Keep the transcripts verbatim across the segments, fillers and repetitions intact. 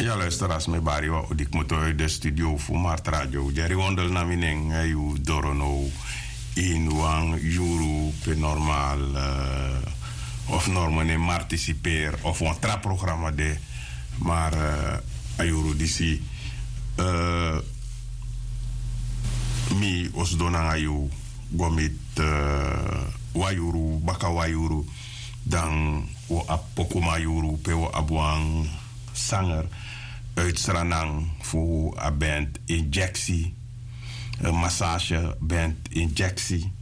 Ya luister, a sma e bari wan odi kmoto uit de studio fu Martradio. Jerry Wondel na mi nen, eh, yu doro now in wan yuru pe normal, eh, of normal nen martisiper of wan tra programma de, maar, eh, a yuru disi, eh, mi o sidon nanga yu go miti, eh, wan yuru, baka wan yuru, dan wi o abi pokuman yuru pe wi o abi wan sanger uit Sranan fu a band Injectie, eh, massage band Injectie.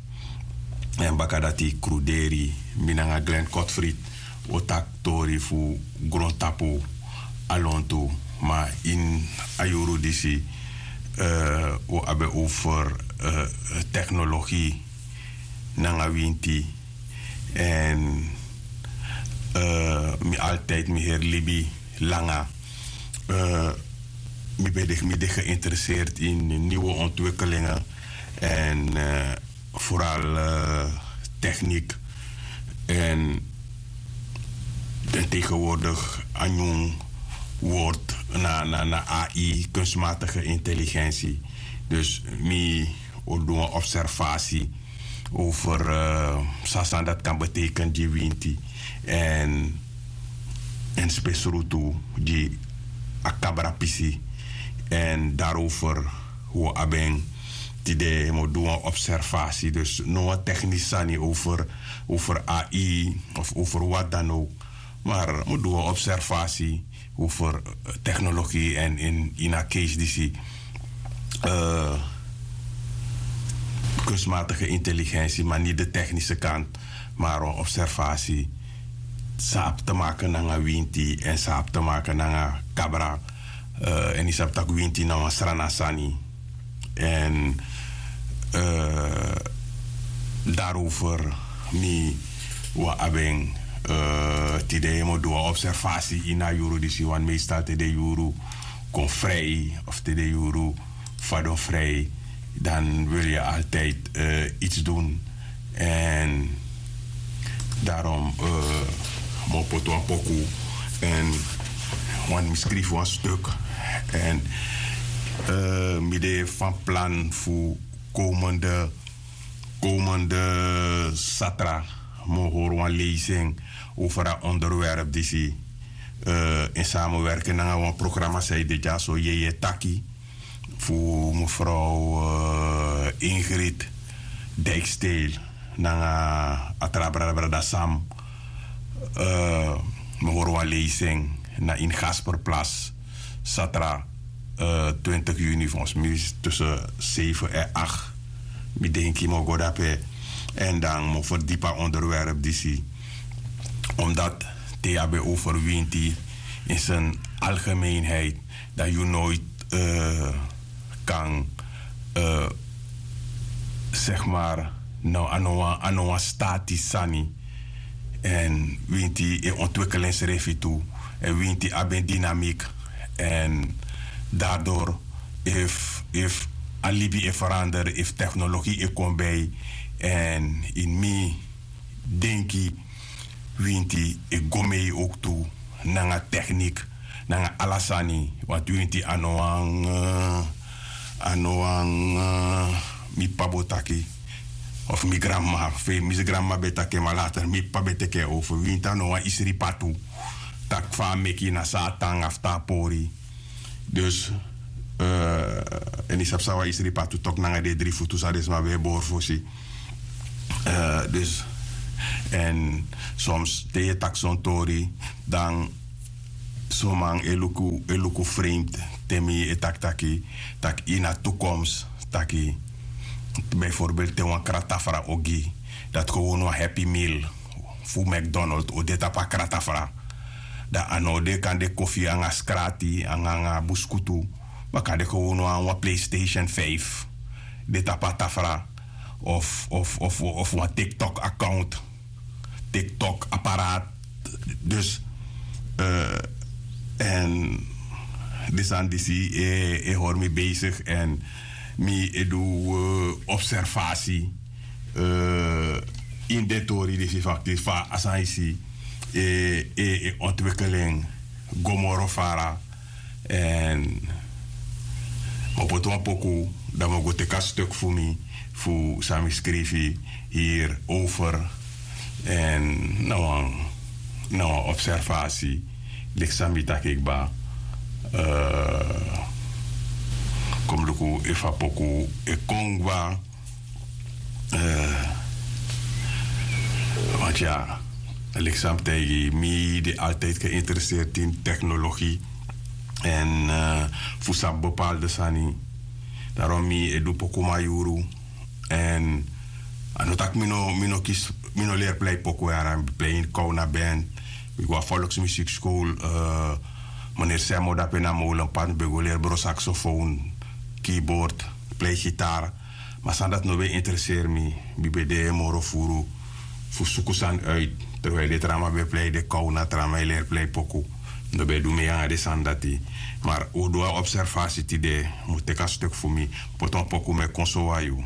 En baka dati kruderi, mi nanga Glenn Kotfried, wi o taki tori fu grontapu a lontu. Ma in a yuru disi, eh, wi o abi over, eh, technologie nanga winti. En, eh, mi altijd mi heri libi langa. Eh, mi ben de, mi de geïnteresseerd in nieuwe ontwikkelingen. En, eh, vooral, eh, techniek. En, en tegenwoordig a nyun woord na, na, na A I, kunstmatige intelligentie. Dus mi o du wan observatie over, eh, san san dat kan betekenen gi winti. En, en spesrutu gi a kabra pisi. En daarover wi o abi en tide, mi o du wan observatie. Dus no wan technisch sani over, over A I of over wat dan ook. Maar mi o du wan observatie over, eh, technologie en in, in a case disi, eh, kunstmatige intelligentie, maar niet de technische kant, maar een observatie. San abi te maken nanga winti en san abi te maken nanga kabra, eh, en yu sabi tak' winti na wan Sranan sani. En, eh, daarover mi wan abi en, eh, tide mi o du wan observatie in a yuru disi, want meestal te den yuru kon vrij of te den yuru fadon vrij, dan wil je altijd, eh, iets doen. En daarom, eh, mi o poti wan poku en wan, mi skrifi wan stuk. En, eh, mi de van plan fu komende, komende satra mi o hori wan lezing over a onderwerp disi, eh, in samenwerking nanga wan programma san e de dyaso, Yeye Taki, fu mevrouw, eh, Ingrid Dijksteel nanga a tra brada, brada Sam. Eh, mi o hori wan lezing na in Gasperplas, satra, eh, twintig juni, volgens mij is tussen zeven en acht. Mi denki mi o go dape. En dan mi o ferdiepi a onderwerp disi. Omdat te yu abi over winti in zijn algemeenheid, dan yu nooit, eh, kan, eh, zeg maar, no, a no wan, a no wan statisch sani. En winti e ontwikkel ensrefi tu. En winti abi en dynamiek. En daardoor, efu, efu a libi e verander, efu technologie e kon bij. En in mi denki, winti e go mee ook tu nanga techniek, nanga ala sani. Want winti a no wan, eh, a no wan, eh, mi p'pa bo taki. Of mi granma, fe, mi granma ben taki, maar later mi p'pa ben teki over. Winti a no wan isri patu. Tak' fa a meki, na san a tan, a fu tan a pori. Dus, eh, en yu sabi san wan isri patu toki nanga den dri futu san den sma ben e bori fosi. Eh, dus, en soms te yu e taki son tori, dan son man e luku, e luku vreemd te mi e taki taki, taki ini a toekomst, taki bijvoorbeeld te wan kratafra o gi, dati gewoon wan Happy Meal fu McDonald o de tapu a kratafra. Dan a no o de, kan de kofi anga skrati, anga, anga buskutu. Ma kan de gewoon wan, wan PlayStation vijf de tapu a tafra. Of, of, of, of wan TikTok account. TikTok apparaat. Dus, eh, en di sani disi e, e hori mi bezig en mi e du, eh, observatie, eh, in den tori disi, fakti fa a sani disi e, e, e ontwikkel en go moro fara. Èn mi o poti wan poku, dan mi o go teki a stuk fu mi, fu san mi skrifi hierover. Èn na wan na wan observasi, leki san mi taki kba. Kon mi luku efu a poku e kon kba. Want ya, leki san mi taigi, mi de altijd geïnteresseerd in technologie en fu sabi bepaalde sani. Daarom mi e du poku mayuru. En a no taki mi no mi no kisi, mi no leri plei poku yara, mi plei in kowna band, mi go a volksmuziekschool. Meneer Semmo dape na molenpad mi ben go leri bro saxofoon, keyboard, plei gitaar. Ma sani dati no ben intereseri mi. Mi ben de moro furu fu suku sani uit. Terwijl den tra man ben plei den kowna, tra man e leri plei poku. Mi no ben du mei nanga den sani dati. Mar un du a observasi tide, mi o teki a stuk fu mi, poti wan poku, mi e kon sowan yu.